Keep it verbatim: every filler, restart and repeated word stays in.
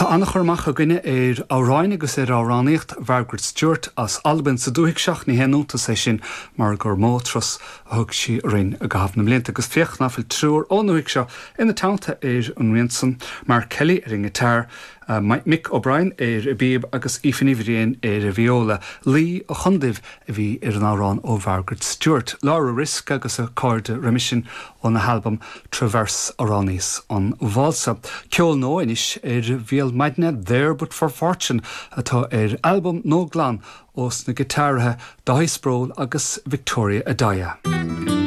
Tá an-chur amach againne ar amhráin agus ar amhránaíocht Mhargaret Stewart as Albain sa dúthaigh seo ní haon iontas é sin mar gur mó turas a thug sí orainn i gcaitheamh na mblianta agus féach nach bhfuil triúr ón ndúthaigh seo ina teannta ar an rian san Mark Kelly ar an ngiotár, uh, Mick O'Brien ar an bpíob agus Aoife Ní Bhriain ar an viola Laoi an Chonduibh a bhí ar an amhrán ó Margaret Stewart, Laura Risk agus a cairde roimhe sin óna halbam Traverse Amhránaíos an Válsa. Ceol nua anois ar bhéal maidine There But for Fortune atá ar albam nua glan ós na giotáraithe Dáithí Sproule agus Victoria Addai.